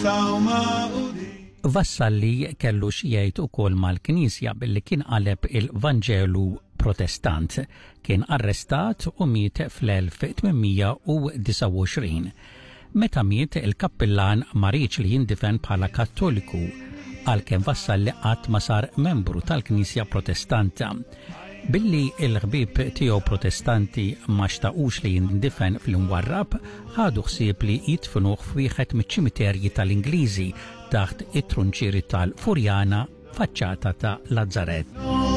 Nistgħu magħqudin. Vassalli kellu xi jgħid ukoll mal-Knisja billi kien qaleb il-Vanġelu Protestant. Kien arrestat u miet fl-1829. Meta miet, il-kappillan ma riedx li jindifen bħala Kattoliku, għalkemm Vassalli qatt ma sar membru tal-Knisja Protestanta. Billi l-ħbieb tiegħu Protestanti ma xtaqux li jindifen fl-imwarrab, ħadu ħsieb li jidfnuh f'wieħed miċ-ċimiterji tal-Ingliżi taħt it-trunċieri tal-Furjana faċċata ta' Lazzarett.